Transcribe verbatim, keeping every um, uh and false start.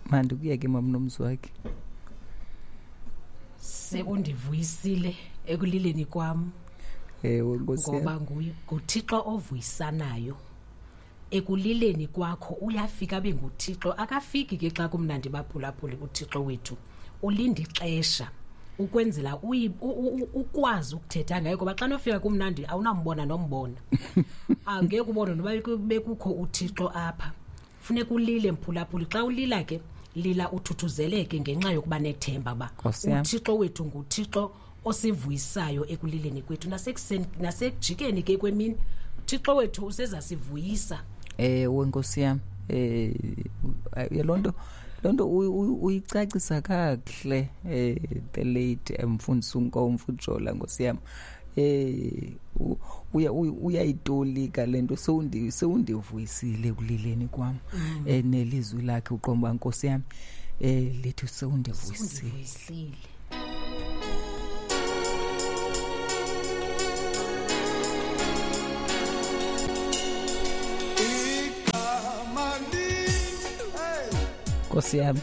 Mandikuyeke mamnomzi wakhe. Sekundivuyisile ekulileni kwam. Ewe Nkosi yam. Ngoba nguThixo ovuyisanayo. Ekulileni kwakho uyafika abe nguThixo. Akafiki ke xa kumnandi baphulaphuli uThixo wethu. Ulinda ixesha ukwenzela ukwazi ukuthetha ngaye, ngoba xa nofika kumnandi awunambona nombona. Angeke ubone noba bekukho uThixo apha. Funeka ulile mphulaphuli. Xa ulila ke lila uthuthuzeleke ngenxa yokuba nethemba ba uThixo wethu nguThixo osivuyisayo ekulileni kwethu nasekuseni nasekujikeni ke kwemini. uThixo wethu usezasivuyisa. Ewe Nkosi yam, eh lonto lonto uyicacisa kakuhle eh the late mfundisi uNkomfu Jola Nkosi yam. Eh uya uyayitolika lento sewundi sewundivuyisile kulileni kwam. Eh nelizwi lakhe uqomba Nkosi yam eh lethu sewundivuyisile. Nkosi yam.